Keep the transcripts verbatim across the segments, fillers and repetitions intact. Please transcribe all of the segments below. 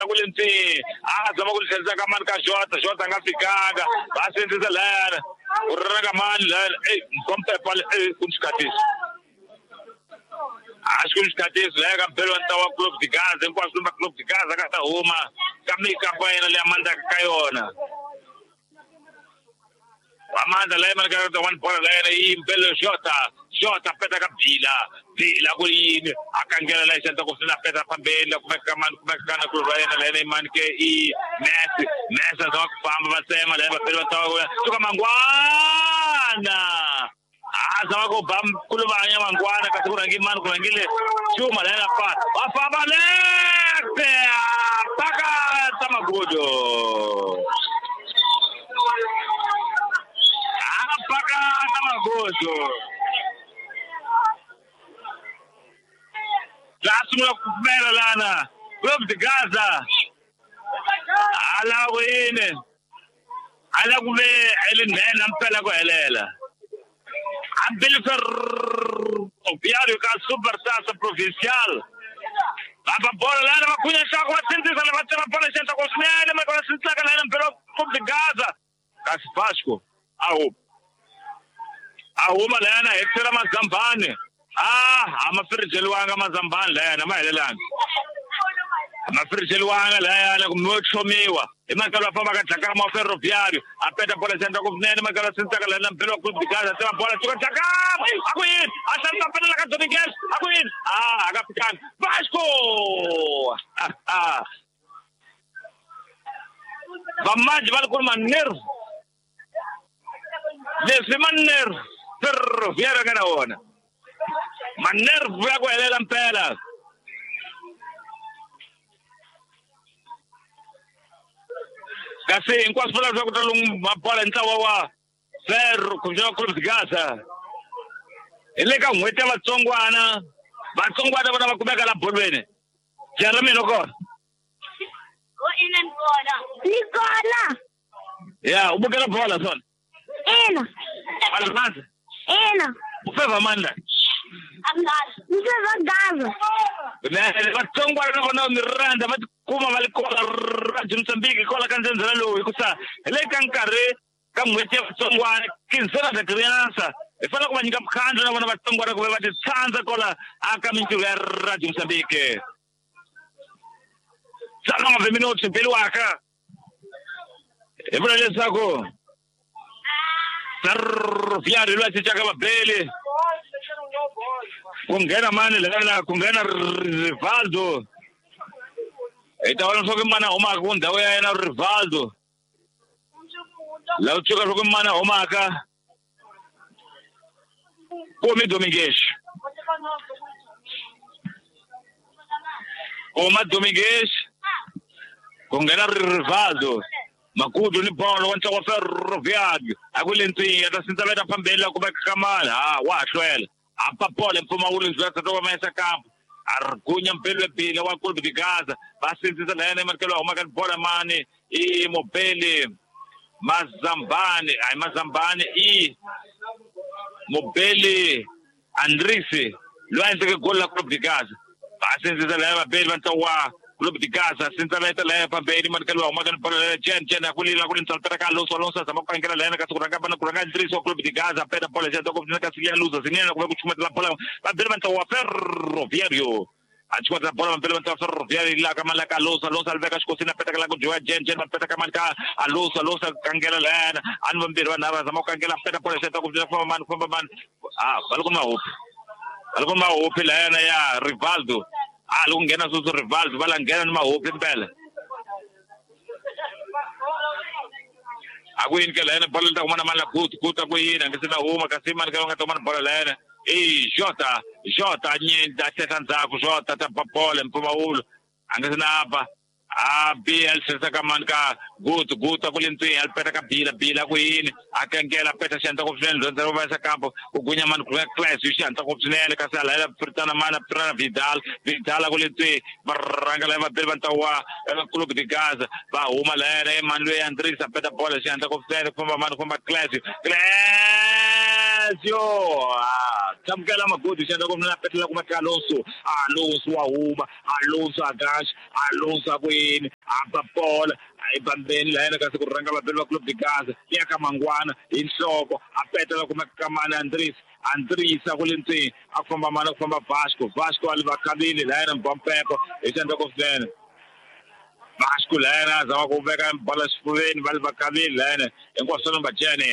Kule ntsi a zama ku tlherisa ka mani ka Jota Jota a nga fikanga va sindzisa layana ku ri ka mani layana ey mkompepa ey ku ni xikhatiso a xi ku ni xikhatiso laya ka mpelo wa ntlawa wa Club de Gaza hinkwaswo va Club de Gaza ka ta huma ka mikampa ya yena leyi a mandzaka ka yona Amanda laya mani ka one bola laya yi mpelo Jota Jota peta ka Bila Bila ku yini a kangela laya xanta ku sina peta fambeni la kumeka ka mani kumeka kana ku ra yena laya mani ke i Messi Messi a zama ku famba va tsema laya va pele va tsawa suka mangwana a zama ku ba kuluvanya mangwana kasi ku rhangi mani ku rhangile Chuma laya fa va famba lefte paka tamagudo paka tamagudo la sungula ku pfumela lana Club de Gaza ala ku yini ala ku ve elinene mpela ku helela ambili ferroviário ka Supertaça Provincial va bola lana va khunya nhloko va sindzisa la va tsema bola xenta ku swinene ma va sindzisaka lana mpela Club de Gaza kasi Vasco a huma a huma lana hi tsela Mazambani ah a ma firijeliwanga Mazambani layana ma helelanga a ma firijeliwanga layana kumbe yo tlhomiwa hi mhaka loyi a fambaka Dlakama wa Ferroviário a peta bola xenta ku swinene mhaka loyi sindzisaka lana mpela wa Club de Gaza tsema bola suka Dlakama a ku yini a hlantswa penela ka Dominguez a ku yini ah a nga fikanga Vasco vamanji va ri ku ri manerve leswi manerve Ferroviário nga na wona manerve ya ku helela mpela kasi hinkwaswo vula leswaku ta lungu mabola hi ntlawa wa Ferro kumbe Club de Gaza hi le ka n'hweti ya vatsongwana vatsongwana vona va kumeka la bolweni Jeremy no kona ni kona ya u bukela bola swona ina wa ina u feva mani la ni feva Gaza vatsongwana na vona mi rhandza va tikuma va li kola Radio Mozambique kola ka ndzhendzela lowu hikusa hi le ka nkarhi ka n'hweti ya vatsongwana quinzena da criança hi fanele ku va nyika mukhandlu na vona vatsongwana ku ve va ti tshandza kola aka mintirho ya Radio Mozambique nove minutos mpeliwaka hi vula leswaku Ferroviário loyi a cincaka vabeli ku nghena mani lana ku nghena Rivaldo hi ta vona leswaku mani a humaka ku ndhawu ya yena Rivaldo laha u tshuka leswaku mani a humaka Kumi Domingues kuma Domingues ku nghena Rivaldo Makudu ni bolo wa ntlawa wa Ferroviário a ku le ntswinya ta sindza veta fambeni la kumeka ka mani ha wa ha hlwela a pa bola mpfumawulo ndzi ta va mayisa kampo a ri gunya mpelo bile wa Club de Gaza va sindzisa la yena emanikelo wa humaka ni bola mani i Mobeli Mazambani hayi Mazambani i Mobeli Andrisi loyi a endleke goli la Club de Gaza va sindzisa la yena vabeli va ntlawa wa Club de Gaza sindza la la pambeni manikelo wa humaka ni bola la Chen Chen akulila kuli ntsala ka Alonso Alonso zama ku kangela la yena kasi ku rhanga bana ku rhanga Andrisi wa Club de Gaza peta bola xa ku ka siya luza zinene ku va ku chumatela bola vabeli va ntlawa wa Ferroviário a chumatela bola vabeli va ntlawa Ferroviário la ka mali ka Alonso Alonso a veka xikosini a peta ka la ku dyiwa Chen Chen va peta ka mali ka Alonso Alonso kangela la yena a ni vambirhi vanhu lava zama ku kangela peta bola xa ku famba mani famba mani ah va le ku mahopi va le ku mahopi la yena ya Rivaldo a loko nghena sweswo Rivaldo va la nghena ni mahopi mpela a ku yini ke la yena bola ta kumana mani la gutu gutu a ku yini a nge se na huma kasi mani ka nga ta kumana bola la yena i Jota Jota nyinda teta ndzhaku Jota ta bola mpfumawulo a nge se na ba a B L tlherisa ka mani ka gutu gutu a ku le ntswinya a peta ka Bila Bila ku yini a kengela peta xi hatla ku swinene dyondza va yisa kampo ku gunya mani ku class xi hatla ku swinene kasi a layela piritana mani a piritana Vidal Vidal a ku le ntswinya va rhanga laya vabeli va ntlawa wa Club de Gaza va huma layena i mani loyi Andrisi a peta bola xi hatla ku swinene ku famba mani ku famba class class Clésio tamukela magodi xandla ku mina petela kuma ka Alonso Alonso wa huma Alonso agash Alonso akwini apa bola ayibambeni la yena kasi ku rhanga vabeli va Clube de Gaza ya ka Mangwana hi nhloko a petela kuma ka Mani Andres Andres a ku le ntseni a ku famba mani a ku famba Vasco Vasco a li va khavile la yena Mbampepo hi xandla ku swinene Vasco la yena a zama ku veka bola xifuveni va li va khavile la yena hinkwaswo number Jene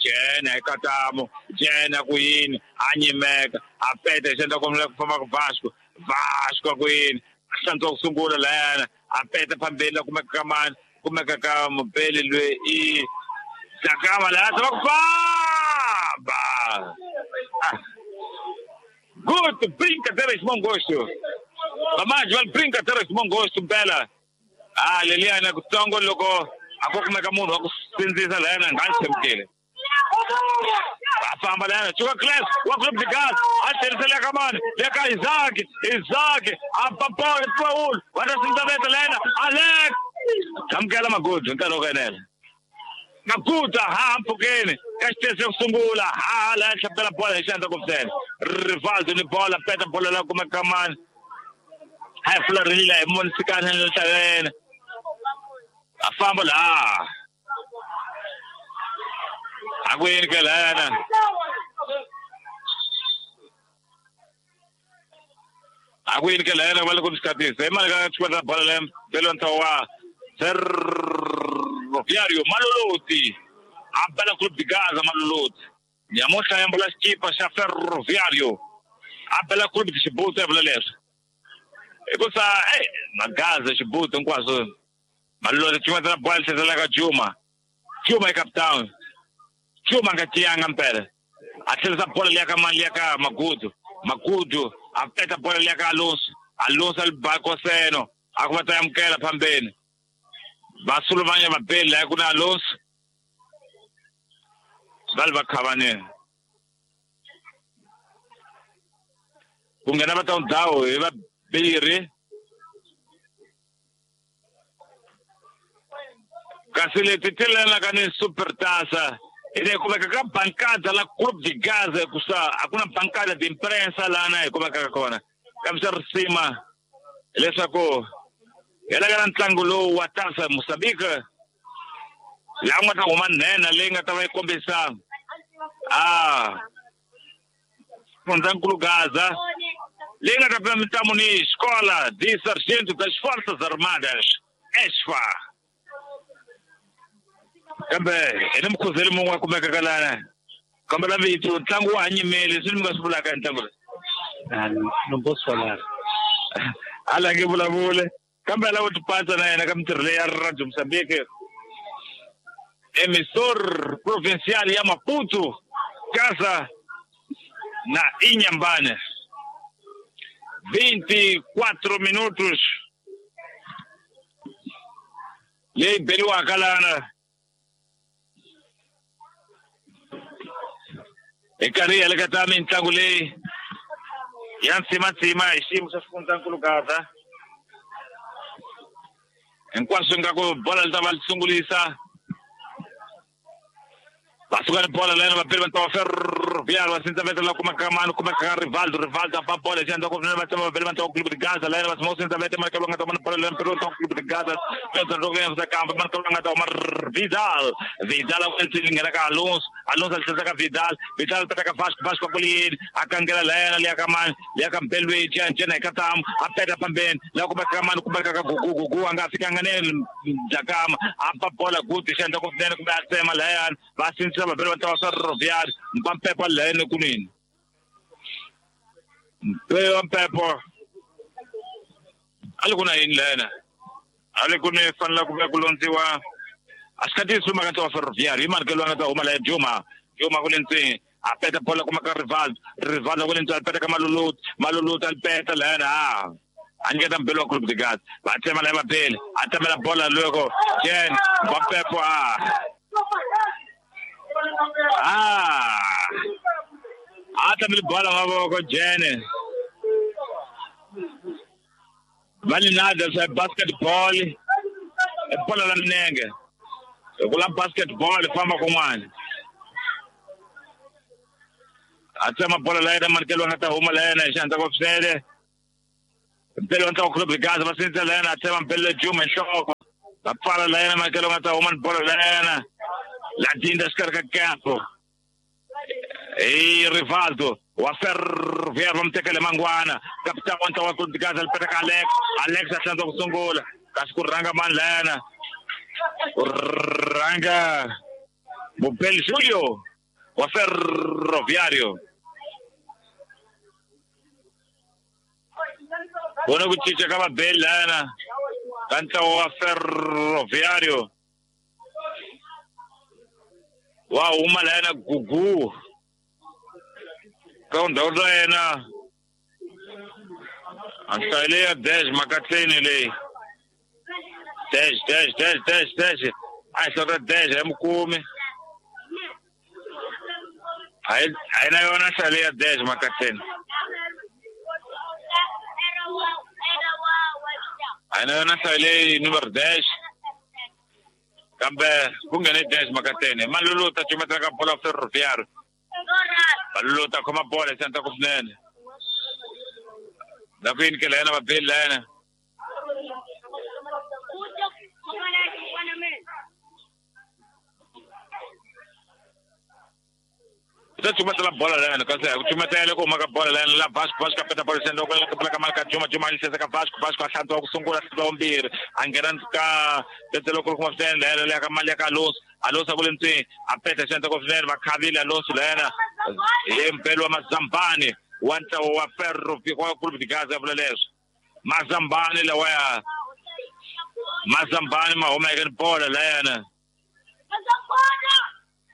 Jene eka tamo Jene ku yini a nyimeka a peta hi xandla ku ku famba ku Vasco Vasco ku yini a hlantswa ku sungula la yena a peta phambeni la kumeka ka mani kumeka ka mubeli loyi i Dakama la zama ku famba good brincadeira de bom gosto Mamanje va brincadeira de bom gosto mpela ah leliyana kutsongo loko a ko kumeka munhu wa ku sindzisa la yena nga tshembekile a famba la yena chuka class wa Clube de Gaza a tlherisela ka mani le ka Isaac Isaac a papaul Paul wa ta sindzaveta la yena Alex tamukela magudu nkarhi wo ku enela Magudu ha mpfhukeni ka xitezi xo sungula ha la hlapela bola hi xandla ku ntsena Rivaldo ni bola peta bola la kumeka mani a hi fularile hi monisikana ni nhlangene a famba laha a ku yini ke lana a ku yini ke lana va le ku xikatisa hi mali ka xikweta bola le belo nthawa Ferroviário Maloloti a bela Clube de Gaza Maloloti nyamuhla ya mbula xikipa xa Ferroviário a bela Clube de Xibuto ya vula leswi hikusa eh magaza Xibuto hinkwaswo Maloloti xikweta bola tlherisela ka Juma Juma i capitão Juma nga tiyanga mpela a tlherisa bola liya ka mani liya ka Magudu Magudu a peta bola liya ka Alonso Alonso a li Koseno a ku va ta amukela phambeni va suluvanya vabeli laha ku na Alonso va li va khavaneni ku nghena va ta ndhawu hi vabirhi kasi leti ti lelaka ni Supertaça hi ku veka ka bancada la Clube de Gaza hikusa a ku na bancada de imprensa lana hi ku vekaka kona kambe swa risima leswaku hi laka na ntlangu lowu wa Taça Moçambique laha ku nga ta huma nhenha leyi nga ta va yi kombisa a Fundzankulu Gaza leyi nga ta pima mitlamu ni Escola de Sargento das Forças Armadas ESFA kambe hi ni mukhuzeli mun'we a kumekaka lana kambela vito ntlangu wa ha nyimeli leswi ni mi nga swi vulaka hi ntlangu lowu no posso falar a la nge vulavule kambe ala wo tipatsa na yena ka mintirho leyi ya Radio Moçambique emissor provincial ya Maputo Gaza na Inhambane vinte e quatro minutos leyi beriwaka lana hi karhi hi heleketa mitlangu leyi ya ntsimatsima hi xiyimo xa xifundzankulu Gaza hinkwaswo nga ku bola li ta va li sungulisa va suka ni bola lena vapeli va ntlawa Ferroviário va sindzaveta la kumeka mani kumeka ka Rivaldo Rivaldo a ba bola hi xandla ku va tsema vapeli va ntlawa Clube de Gaza lena va sima sindzaveta mali ka nga ta huma bola lena mpeli wa ntlawa Clube de Gaza loko ya kamba mali ka nga ta huma Vidal Vidal a ku nghena ka Alonso Alonso a tlherisa ka Vidal Vidal peta ka Vasco Vasco ku yini a kangela lena liya ka mani liya ka Mbelwe Jene ka tamu a peta phambeni la kumeka ka mani kumeka ka Gugu Gugu a nga fikanga ne Dakama a ba bola good xandla ku nene kumbe a tsema layani va sindzisa vabeli va ntlawa Ferroviário Mpampepo lene kunini Mpampepo a li ku na yini lena a li ku ni fanela ku va ku londziwa a swi khatisi maka ntlawa Ferroviário hi mani ke loyi a nga ta huma la Juma Juma ku le ntseni a peta bola kuma ka Rivaldo Rivaldo ku le ntseni a peta ka Maloloti Maloloti a li peta lena a a nyiketa mbeli wa Clube de Gaza va tsema la vabeli a tsemela bola loko Jen Mpampepo a ah a tlamile bola mavoko Jene va li nada swa basketball i bola la minenge hi ku la basketball famba kun'wana A tsema bola la yena manikelo nga ta huma la yena hi xandla ko swinene. Mpelo ntlawa Club de Gaza va sindzisa la yena a tsema mpelo Juma nhloko. Va pfala la yena manikelo nga ta huma ni bola la yena. La dinda xikarhi ka campo. Ei Rivaldo wa Ferroviário va mu tekele mangwana. Capitão wa ntlawa Club de Gaza li peta ka Alex. Alex a hlantswa ku sungula. Kasi ku rhanga mani la yena. Ku rhanga Mupeli Julio wa Ferroviário. Vona ku cinca ka vabeli lana ka ntlawa wa Ferroviário. Wa huma lana Gugu ka ndhawu ya yena. A nhlayo leyi ya dez makatleni leyi. Dez, dez, dez, dez, dez. A hi hlota dez a hi mukumi. A hi a hi na yona nhlayo leyi ya dez makatleni. A hi na yona nhlayo leyi numero dez. Kambe ku nghene dez makatleni. Malulu ta cumetela ka bola Ferroviário. Malulu ta khoma bola hi xandla ku swinene. La ku yinikela yena vabeli la yena. Ta cumetela bola la yena kasi ku cumetela ku huma ka bola la yena la Vasco. Vasco a peta bola xandla ku la ka mali ka Juma. Juma a yi ka Vasco. Vasco a hlantswa ku sungula hlantswa vumbirhi. A nghena ka tete loko kuma swinene la yena leya ka mali ya ka Alonso. Alonso a ku le ntswini a peta xandla ku swinene va khavile Alonso la yena. Hi mpelo wa Mazambani wa ntlawa wa Ferroviário wa Club de Gaza vula leswo. Mazambani lawaya Mazambani ma huma eka bola la yena.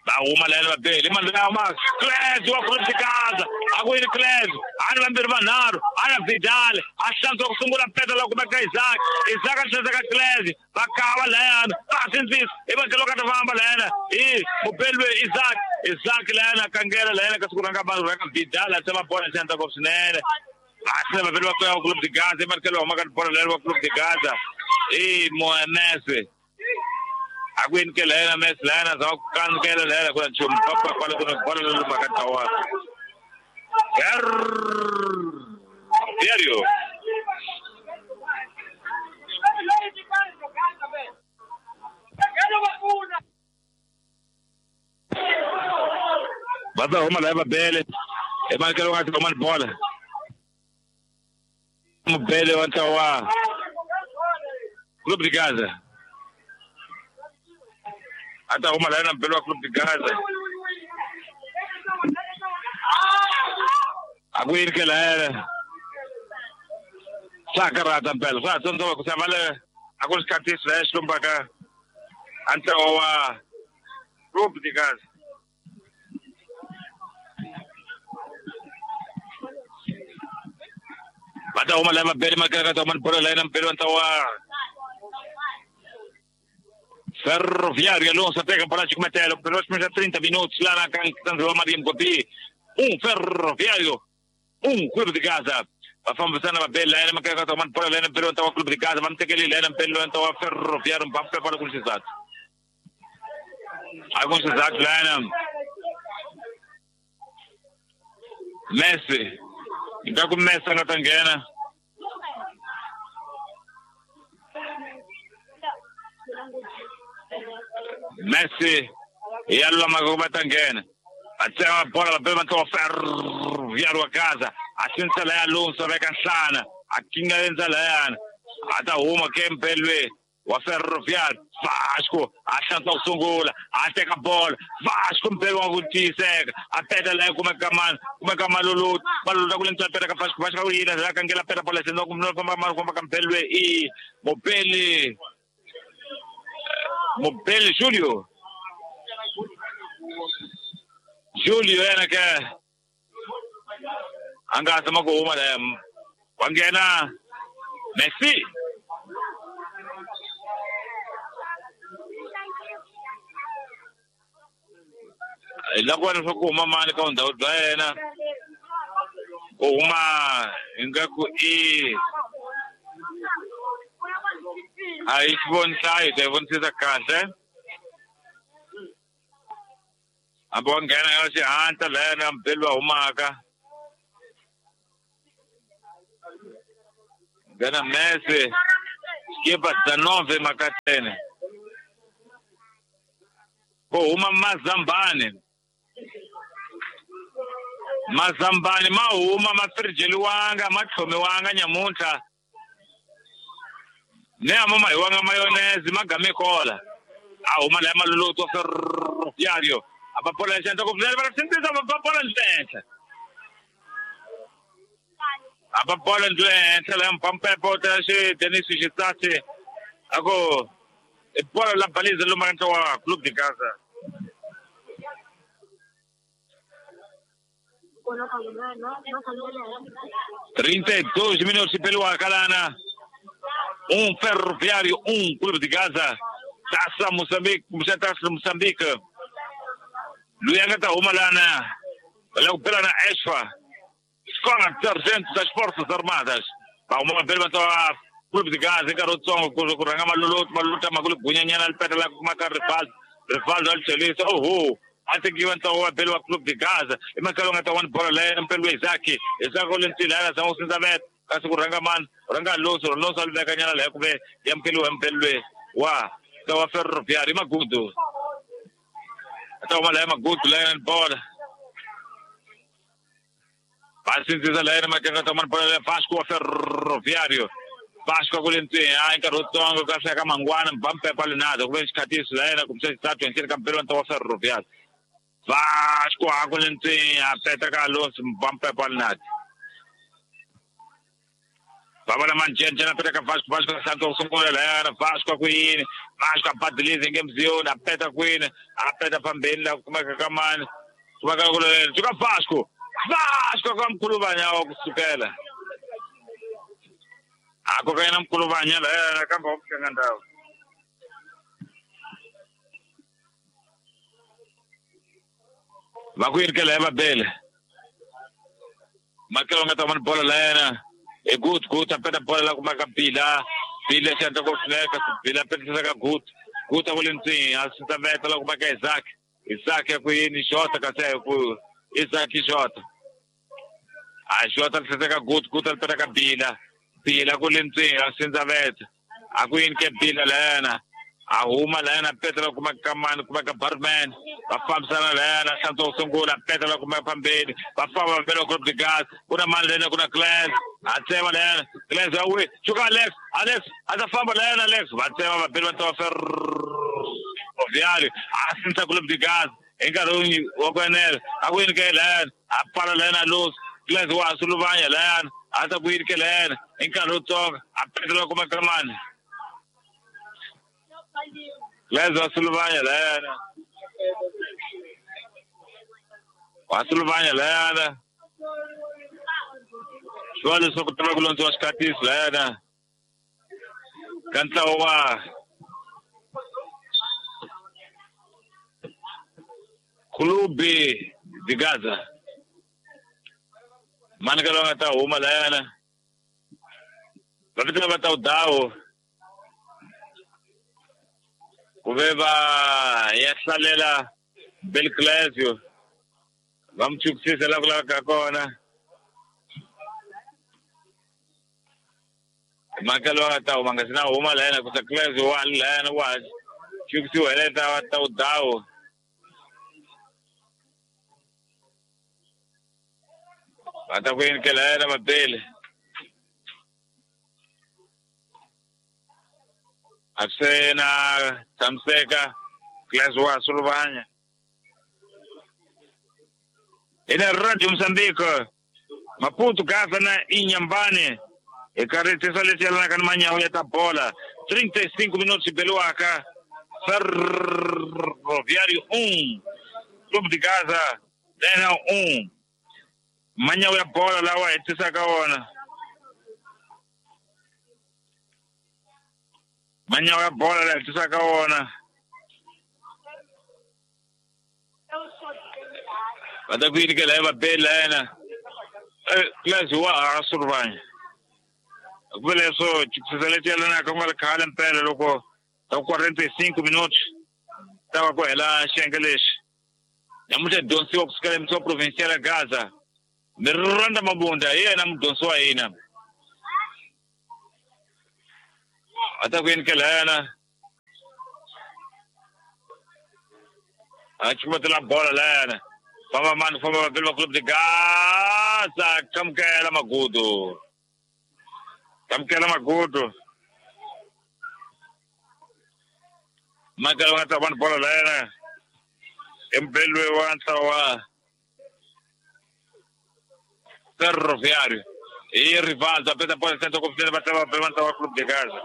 Va huma la yena vabeli. I mani loyi ma Clés wa Club de Gaza. A ku yini Clés? A ni vambirhi vanharhu. A na Vidal. A hlantswa ku sungula peta la kumeka Isaac. Isaac a hlantswa ka Clés. Va kava la yena. Va sindzisa. I va loko a ta famba la yena. I mubeli loyi Isaac. Isaac la yena kangela la yena ka siku ranga vanhu ranga Vidal a tsema bola xandla ku swinene. Va tlhela vabeli va kuya Club de Gaza. I mani wa huma ka bola la yena wa Club de Gaza. I Moemese. A ku yinikela yena Messi la yena za ku kankela la yena ku na nchumu. Papa kwale ku na bola leyi lumaka ntlawa. Ferroviário. Va ta huma la vabele. I manikelo nga tlhoma ni bola. Mubele wa ntlawa Club de Gaza. A ta huma la yena mubele wa Club de Gaza. A ku yinikela yena. Swa karhata mpela. Swa ha tsandza ku xava le a ku ri xikhatisi la xi lombaka a ntlawa wa Club de Gaza. Va ta huma la vabeli makaya ka ta huma ni bola la yena mubele wa ntlawa Ferroviário. Alonso pega bola de cumetelo. Pelo menos trinta minutos lá na Canto Maria Mgobi. Um Ferroviário, um Clube de Gaza. Va fambisana vabeli la yena makaya ka ta huma ni bola la yena mubele wa ntlawa Club de Gaza. Va mu tekele la yena mubele wa ntlawa Ferroviário. Mbappe pala ku xizathu. A ku xizathu la yena Messi. Ingaku Messi a nga ta nghena. Messi ya lulama ku va ta nghena. A tsema bola vabeli va ntlawa Ferroviário wa Gaza. A sindzisa la ya Alonso a veka nhlana. A kingalenza la yana. A ta huma ke mpelwe wa Ferroviário. Vasco a hlantswa ku sungula. A teka bola. Vasco mpelo wa ku tiyiseka. A peta la kumeka mani. Kumeka Maluluti. Maluluti a ku le ntswa peta ka Vasco. Vasco a ku yina la kangela peta bola xandla ku famba mani famba ka mpelwe i Mubeli. Mubeli Julio. Julio yena ke a nga zama ku huma la wa nghena Messi. Hi la ku va leswaku ku huma mani ka vundhawu bya yena. Ku huma ingaku i a yi xi voni nhlayo hi ta yi vonisisa kahle. Hambi wa nghena ya xihatla lena mbeli wa humaka. Nghena Messi. Xikipa dezenove makatene. Ku huma mazambani. Mazambani ma huma ma firijeliwanga ma tlhomiwanga nyamuntlha. Ne a mo mahiwanga mayonnaise ma game kola. A huma la maluluto ferroviario. A papola xandla ku vula va sindzisa va papola ntenhla. A papola ntenhla la mpampepo ta xi Denis Xitsatsi. Ako e bola la baliza lo maranta wa Clube de Gaza. trinta e dois minutos pelo Acalana. Um Ferroviário, um Clube de Gaza. Taça Moçambique, Taça Moçambique. Luianga tá uma lá na pela na ESFA. Escola de Sargento das Forças Armadas. Uma pergunta Clube de Gaza, garoto, kuranga maluluto, maluta magulu gunyanyan alpeta la kumaka Rivaldo, Rivaldo al chelisa, oh oh. Ante que iban a pelo Clube de Gaza, e makalonga tawan bola le pelo Isaki, Isaki lentilana sa usinzamet, kasi kuranga man, ranga loso, loso albekanyana le kube, yamkelu empelwe, wa, tawa Ferroviário magudu. Tawa le magudu le bola. Pasinziza le makanga tawan bola le Vasco Ferroviário. Vasco kulentini hayi nkarhi wutsongo ka hleka mangwana mbampepa lenado ku ve xikhatiso la yena kumbe xitatu hi ka mpelo wa Ferroviário. Vasco a kulentini a peta ka Alonso mbampepa lenado. Baba manjenje na peta ka Vasco Vasco Santos sungula la yena Vasco ku yini Vasco a badilize ngemziyo na peta kwini a peta phambeni la kumeka ka mani kumeka ku le Vasco Vasco ka mkhuluvanya wa kusukela. Ako kaya mkuluvanya la kamba okuhlanga ndawo. Vakuyirikela ebabele. Makelo nga tamani bola la yena. E good good apeta bola la kumaka Bila. Bila xandla ku hleka Bila petisa ka good. Good a kulentsini a veta la kumaka Isaac. Isaac ya ku yini shota kasi ku Isaac shota. A shota ka good good apeta ka Bila. Bila kulentsini a sindzaveta a ku yini ke Bila lena a huma lena petela kuma kamani kuma ka barman va fambisana lena hlantswa sungula petela kuma phambeni va famba velo Clube de Gaza kuna mani lena kuna Claes a tsema lena Claes a wi chuka Alex Alex a ta famba lena Alex va tsema va bela va Ferroviário a sindza Clube de Gaza hi nkarhi wa ku enela a ku yini ke lena a pfala lena Luz Claes wa suluvanya lena ata ku yini ke lena hi nkarhi wutsongo a petela kuma kamani Claes wa suluvanya lena wa suluvanya lena swi leswaku tiva ku londziwa xikhatiso lena ka ntlawa wa Clube de Gaza. Mani ka loyi a nga ta huma layana va vitana va ta dawo ku ve va ya hlalela Belclesio va mi chukisisa la ku laveka kona mhaka loyi a nga ta huma nga si na huma layana ku sa Clesio wa layana wa chukisiwa hi le ta ta dawo. Va ta ku yini ke layena mabele a swi na tshamiseka Claes wa suluvanya ina Radio Moçambique Maputo Gaza na Inhambane hi karhi tisa leswi yelanaka ni manyawu ya ta bola trinta e cinco minutos beliwaka Ferroviário um Clube de Gaza lena um manyawu ya bola lawa hi tisaka wona manyawu ya bola lawa hi tisaka wona va ta ku yini ke la va beli la yena Claes wa a suluvanya ku ve leswo chukisisa leswi yelanaka ku nga ri khale mpela loko ta quarenta e cinco minutos ta va ku hela xiyenge lexi Namuntlha dyondzisiwa kusukela emutini wa provincial ya Gaza. Miranda Mabunda hi yena mudyondzi wa hina. A ta ku yini ke layana. A chumatela bola layana. Famba mani famba vapeli va Clube de Gaza. Kamukela Magudu. Kamukela Magudu. Michael wa ta van bola layana. Embelwe wa ntlawa Ferroviário. E Rivaldo aperta a bola centro com o bateu a Clube de Gaza.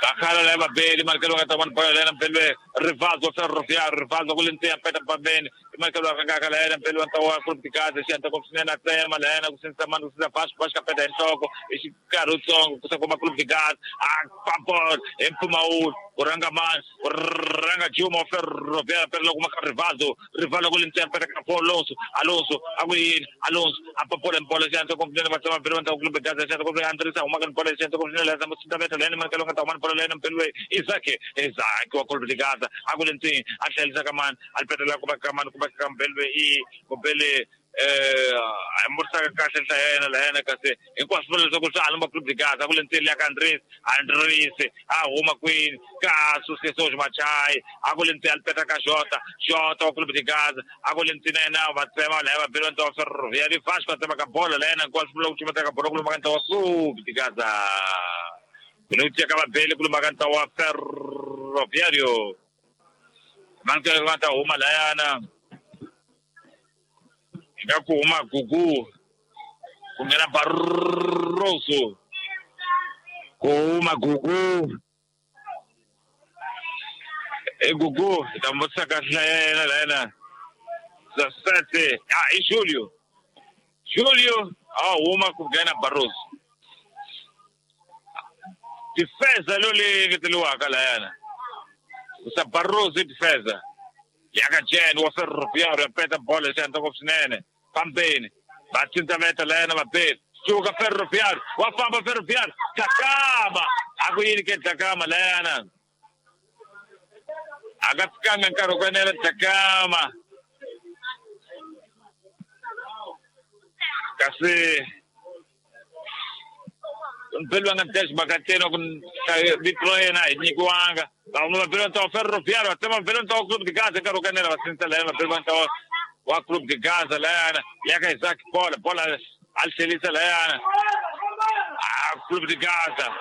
Takhala leva bene, Marcelo ga taban bola lena pele Rivaldo Ferroviário, Rivaldo com lente aperta para bene, Marcelo ga ga lena pele wa Clube de Gaza, senta com sinena tema lena com senta mano com faz faz capeta em toco, esse garoto com como Clube de Gaza, a papor, empuma o Kuranga man, Kuranga Juma Ferroviário pele com Rivaldo, Rivaldo com lente aperta com Alonso, Alonso, Aguin, Alonso, a papor em bola senta com sinena bateu pele wa Clube de Gaza, senta com Andressa, uma com bola senta com sinena lesa muita meta lena Marcelo ga taban bola lena pele Isaac, Isaac wa Clube de Gaza, Agulentin, Axel Zakaman, Alpetela kuma kaman kuma kampelwe i kupele eh amursa ka kahle yena la yena kasi hinkwaswo leswaku swi alamba Clube de Gaza Agulentin ya ka Andres, Andres a huma kwini ka Sucesso Machai, Agulentin Alpeta ka Jota, Jota wa Clube de Gaza, Agulentin yena va tsema la va belo nto Ferroviário Vasco tsema ka bola la yena hinkwaswo loko chimata ka bola kuluma ka nto wa Clube de Gaza. Kunutia ka bele kuluma ka nto wa Ferroviário. Manke va ta huma layana. Nga ku huma Gugu. Ku nghena Barroso. Ku huma Gugu. E Gugu, ta motsa ka hlayena layana. Sete, ah, e Julio. Julio, ah, huma ku nghena Barroso. Defesa loli ngeteliwaka layana. Usa Barroso e defesa. Yaka Jen wa Ferroviário aperta bola senta com sinene. Pambene. Batinta meta lena mapet. Suga Ferroviário. Wa famba Ferroviário. Takama. Akuini ke takama lena. Akafikanga nkaro kwenela takama. Kasi mpelwa nga test bakateno kun bitloena nyikwanga. Vamos ver então Ferroviário, até vamos ver então o Clube de Gaza, quero que era assim lá, ver então o Clube de Gaza lá, e a Isaac bola, bola al Celisa lá. Ah, Clube de Gaza.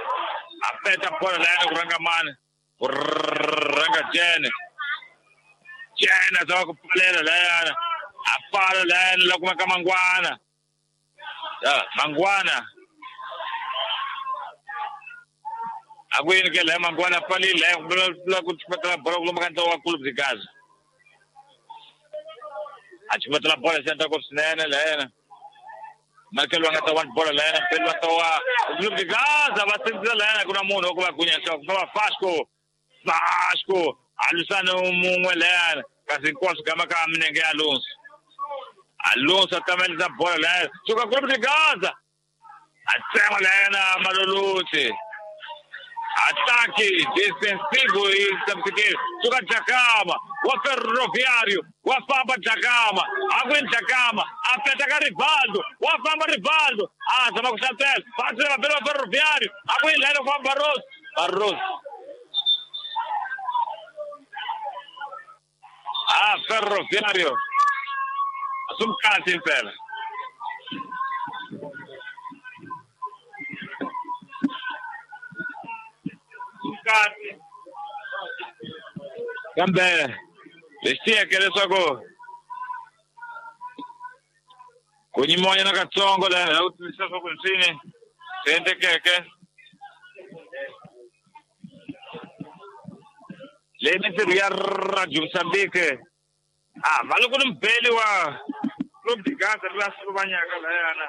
Aperta a bola lá no Rangaman. Ranga Jen. Jen toca com palera lá. A para lá, logo uma Manguana. Ah, Manguana. Aguin ke le Manguana pali le la ku chipatla bola ku makanta wa Clube de Gaza. A chipatla bola senta ko sinene le. Marcelo nga tawan bola le pelo tawa Clube de Gaza va sentisa le kuna munhu ku va gunya nhloko fa Vasco. Vasco alusana munwe le kasi hinkwaswo gama ka minenge Alonso. Alonso tamelisa bola le. Suka Clube de Gaza. A tsema le na Maloluti. Ataque defensivo e sabe Suga Jacama, o Ferroviário, o Famba Jacama, aguenta Jacama, aperta Rivaldo, o Famba Rivaldo, ah, sama com Chantel, faz pelo Ferroviário, aguenta o Famba Barroso, Barroso. Ah, Ferroviário. Assume cante em pé. Kambe lexi tiyeke leswaku ku nyimonyana katsongo laha ku twisisa swa ku swini swi endlekeke leyi mintirho ya Radio Mozambique ah va loko ni mbeli wa Clube de Gaza la Slovanyaka layana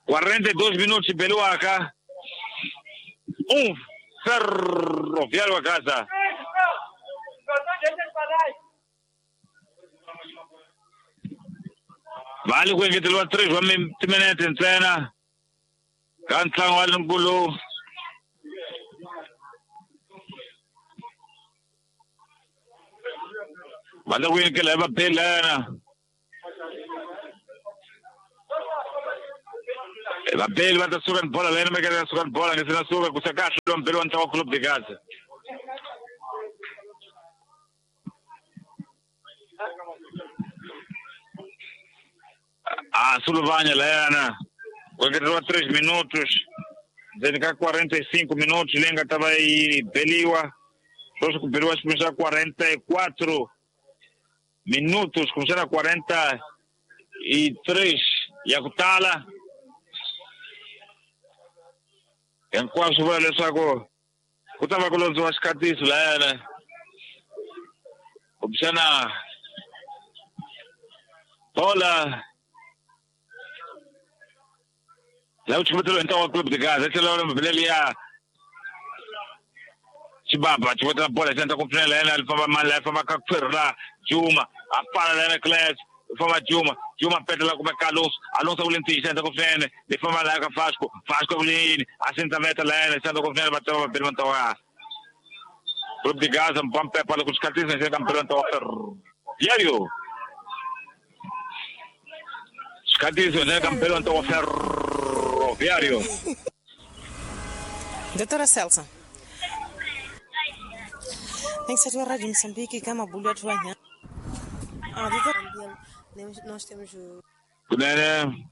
quarenta e dois minutos beliwaka um Ferroviário a casa. Vale ku engeteriwa three wa timinete ntsena ka ntlangu wa nkulu. Va ta ku yini ke la va belana. Vabeli va ta suka ni bola lena meke ta suka ni bola nge sina suka ku saka hlula mbeli wa ntlawa Club de Gaza. Ah, Suluvanya lena. Ku engeteriwa três minutos. Ndzeni ka quarenta e cinco minutos leyi nga ta va yi beliwa. Sweswi ku beliwa xiphemu xa quarenta e quatro minutos kumbexana quarenta e três ya ku tala. Hinkwaswo vula leswaku ku ta va ku londziwa xikatiso layana kumbexana bola la ku chivetelo hi ntlawa wa Club de Gaza tlhela mabelele ya Chibaba chivetela bola xi endla ku pfunela yena li famba mali la famba ka khwiri la Juma a pfala lena class famba Juma Juma petela kumbe Carlos Alonso ku le ntiyi xi endla ku pfunene li famba la ka Vasco Vasco ku le yini a sindza veta la yena xi endla ku pfunene va tava vabeli va ntlawa Club de Gaza mpampepa loko xikhatisa xi endla mpelo ntlawa Ferroviário xikhatisa xi endla mpelo ntlawa Ferroviário. Doutora Celso. Tem Rádio Moçambique kama bulu atu wanya. Ah, doutora, nós temos o Kunene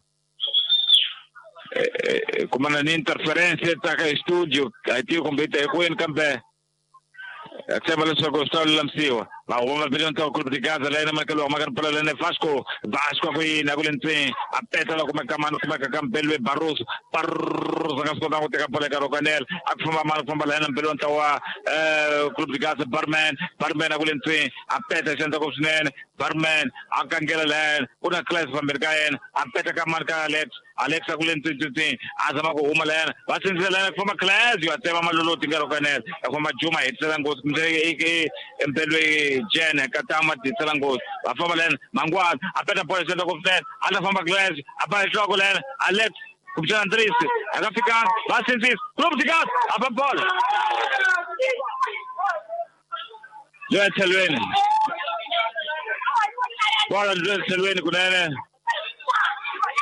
kumana ni interferência ta ka studio aiti kumbita ekwini kambe tshemba leswaku swi ta lulamisiwa va huma billion ta Club de Gaza lena makelo ma ka pela lena Vasco Vasco ku yini ku le ntseni a petela kuma kamana kuma ka kampelwe Barroso Barroso nga swi kota ku teka bola eka Rokanel a ku famba mali ku famba lena mpelo ntlawa eh Club de Gaza Barman Barman a ku le ntseni a peta xandla ku swinene Barman a kangela lena ku na class fambeni ka yena a peta ka mali ka Alex Alex a ku le ntseni ntseni a zama ku huma lena va sindzela lena ku famba class yo tsema maloloti nga Rokanel a famba Juma hetisela nghozi kumbe empelwe Jene katama tisela nghozi va famba lena Mangwana a peta bola xandla ku swinene a ta famba class a ba nhloko lena Alex kumbexana Andrisi a nga fika va sindzisa Club de Gaza a ba bola yo etlhelweni bola yo etlhelweni kunene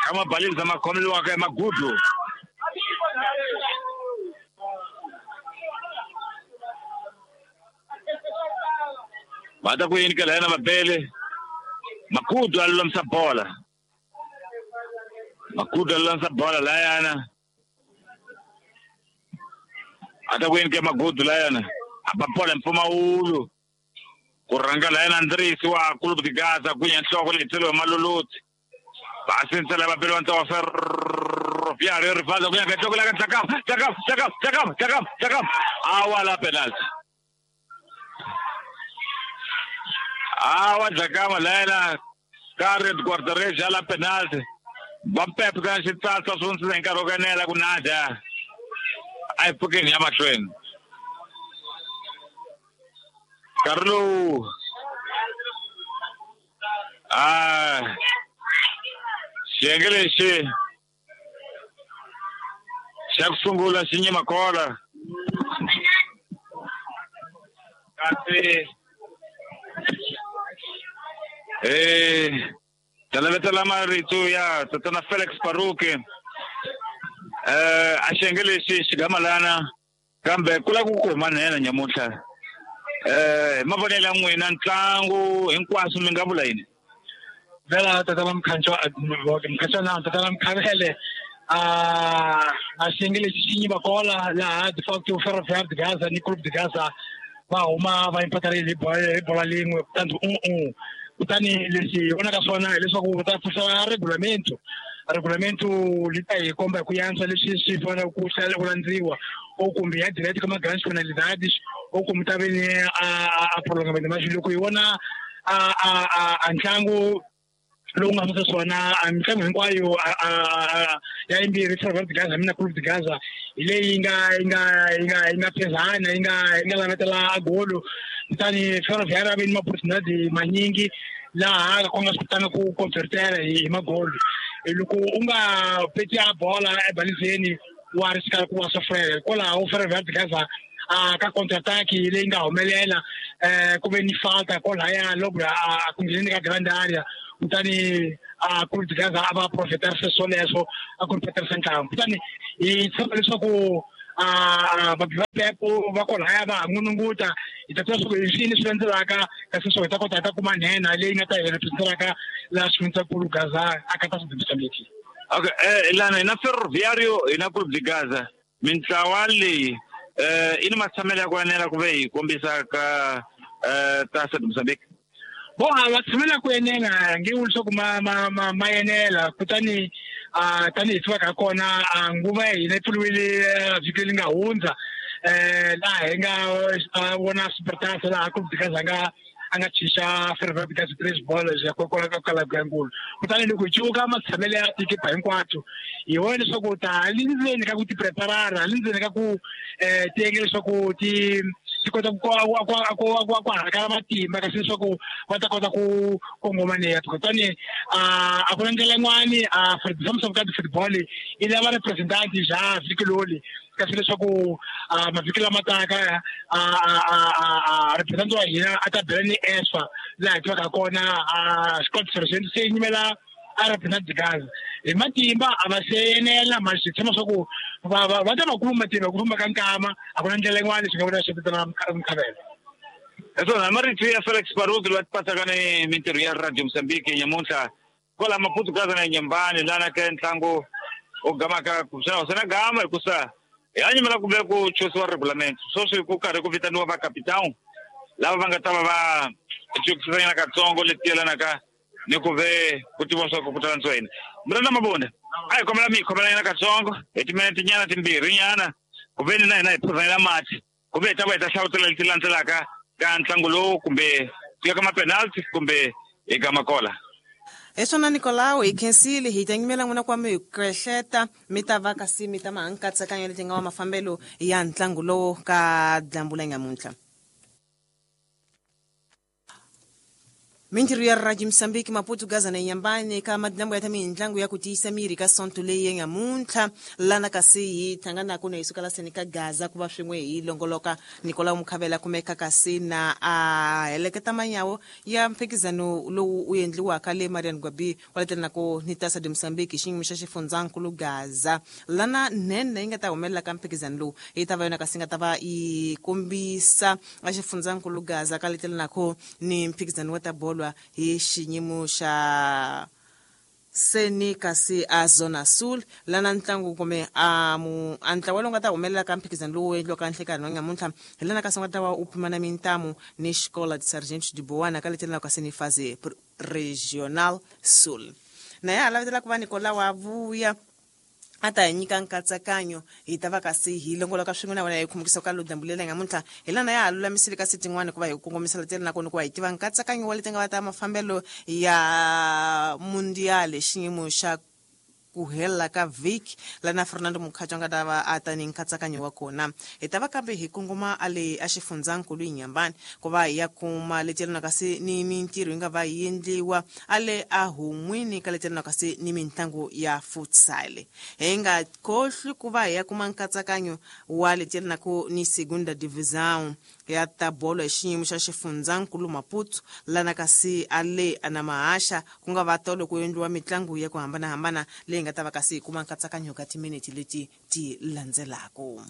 kama balili za makhomeliwaka emagudu va ta ku yini ka lena mabele Makudu a lulamisa bola Makudu a lulamisa bola layana a ta ku yini ka Magudu layana a ba bola mpfumawulo ku rhanga layana Andrisi wa Club de Gaza ku ya nhloko leyi tlhelo hi Maloloti va sindzela vabeli va ntlawa Ferroviário Rivaldo ku ya ka nhloko la ka Tlakama Tlakama Tlakama Tlakama Tlakama Tlakama a wa la penalty awa Tlakama lena ka red guarda-redes la penalty va Pepe ka xitsatsa swo ndzi nkarhi wo kanela ku nadya a hi pfukeni ya mahlweni nkarhi lowu a xiyenge lexi xa ku sungula xi nyima kola kasi eh talavetela marito ya tatana Felix Paruke eh a xiyenge lexi xigamalana kambe ku lava ku kuma nhenha nyamuntlha eh mavonelo ya n'wina ntlangu hinkwaswo mi nga vula yini vela tata Mkhantswa Mkhantswa na tata Mkhavele a a xiyenge lexi xi nyiva kola laha de facto Ferroviário de Gaza ni Club de Gaza va huma va impatarile hi bola lin'we kutani un-un kutani lexi hi vonaka swona hileswaku va ta pfuxa regulamento regulamento li ta hi komba hi ku yantswa leswi swi faneleke ku ku landziwa ou kumbe ya direto ka ma-grandes penalidades ou kumbe ta ve ni a a prolongamento mas loko hi vona a a a ntlangu lowu nga susa swona a mitlangu hinkwayo ya yimbirhi Ferroviário de Gaza mina Club de Gaza hi leyi yi nga yi nga yi nga yi nga phezana yi nga yi nga lavetela a golo kutani Ferroviário a ve ni ma-opportunidade manyingi laha ku nga swi kotanga ku convertela hi magolo loko u nga peti a bola ebalizeni wa ri xikarhi ku wa sofrela hikwalaho Ferroviário de Gaza a ka counter attack leyi nga humelela eh ku ve ni falta kwalaya loko a ku ngheni ka grand area kutani a Clube de Gaza a va profeterisa swoleswo a ku ri peterisa ntlangu kutani hi tshemba leswaku a va pepo va kwalaya va ha n'ununguta hi ta tiva leswaku hi swini swi landzelaka kasi swo hi ta kota hi ta kuma nhenha leyi nga ta hi representelaka laha xifundzakulu Gaza a ka ta Mozambique. Okay, eh lana hina Ferroviário hina Clube de Gaza mintlawa leyi eh i ni matshamelo ya ku enela ku ve hi kombisa ka eh Taça de Moçambique. Bo a va tshamela ku enela nge vuli leswaku ma ma ma ma enela kutani a tanihi tivaka kona a nguva ya hina yi pfuriwile vhiki leri nga hundza eh laha hi nga vona Supertaça laha Clube de Gaza nga a nga chicha Ferroviário de Gaza três bolas ya kwala ka Kalabuyankulu kutani loko hi cuka matshamelo ya tikipa hinkwato hi vona leswaku ta le ndzeni ka ku ti preparara le ndzeni ka ku eh ti endla leswaku ti ti kota ku ku ku ku hakela matimba kasi leswaku va ta kota ku kongoma ni kutani a a ku na ndlela yin'wani a for football i lava representant bya vhiki loli kasi leswaku mavhiki lama taka a a representant wa hina a ta bela ni ESFA laha hi tivaka kona a Scott Sergeant se yimela a represent Gaza hi matimba a va se enela ma swi tshemba swa ku va va va ta va kuma matimba ku famba ka nkama a ku na ndlela yin'wana swi nga vula swi vitana Mkhavela. Hiswona marito ya Felix Baruti loyi a tipasaka ni mintirho ya Radio Mozambique nyamuntlha kwala Maputo Gaza na Nyembani lana ka ntlangu u gamaka kuxana swi na gama hikusa hi a nyimela ku ve ku chusiwa regulamento sweswi ku karhi ku vitaniwa va capitão lava va nga ta va va cukisanyana katsongo leti yelanaka ni ku ve ku tiva swa ku ku ta landziwa yini. Murena Mabunda a hi kombela mi hi khomelanyana katsongo hi timinete nyana timbirhi nyana ku ve ni na hina hi phuzanyela mati ku ve hi ta va hi ta hlavutela leti landzelaka ka ntlangu lowu kumbe ku ya ka ma-penalty kumbe eka makola. Hi swona Nicolau hi khensile hi ta nyimela n'wina ku va mi hi kwehleta mi ta va kasi mi ta ma nkatsakanyo leti nga wa mafambelo ya ntlangu lowu ka dyambu la nyamuntlha. Mintirho ya Radio Mozambique Maputo Gaza na Nyambani ka madyambu ya ta mintlangu ya ku tiyisa miri ka sonto leyi ya nyamuntlha lana kasi hi hlanganaka na hi suka la seni ka Gaza ku va swin'we hi longoloka Nicolau Mkhavela kumeka kasi na a heleketa manyawo ya mphikizano lowu u endliwaka le Marian Gwabi wa letelanaku ni Taça de Moçambique xiyimo xa xifundzankulu Gaza lana nene yi nga ta humelela ka mphikizano lowu yi ta va yona kasi nga ta va yi kombisa a xifundzankulu Gaza ka letelanaku ni mphikizano wa ta bolo hi xiyimo xa seni kasi a Zona Sul lana ntlangu kumbe a mu a ntlawa lowu nga ta humelela ka mphikizano lowu endliwaka nhlekanhi wa nyamuntlha hi lana kasi nga ta va u pimana mintamu ni Escola de Sargento de Boana ka letelana kasi ni fase regional Sul na ya lavetela ku va Nicolau a vuya a ta hi nyika nkatsakanyo hi ta va kasi hi longoloka swin'we na wena hi khumukisa ka lodyambu leri nyamuntlha hi lana ya ha lulamisile kasi tin'wani ku va hi kongomisela tele nakona ku va hi tiva nkatsakanyo wa leti nga va ta mafambelo ya mundial xiyimo xa ku hela ka vhiki lana Fernando Mukhatsho a nga ta va a ta ni nkatsakanyo wa kona hi ta va kambe hi kongoma a le a xifundzankulu hi Nyambani ku va hi ya kuma leti yelana kasi ni mintirho yi nga va yi endliwa a le a hun'wini ka leti yelana kasi ni mitlangu ya futsal hi nga khohli ku va hi ya kuma nkatsakanyo wa leti yelanaka ni Segunda Divisão ya ta bolo hi xiyimo xa xifundzankulu Maputo lana kasi a le a na mahaxa ku nga va tolo ku endliwa mitlangu ya ku hambanahambana leyi nga ta va kasi hi kuma nkatsakanyo ka timinete leti ti landzelaka.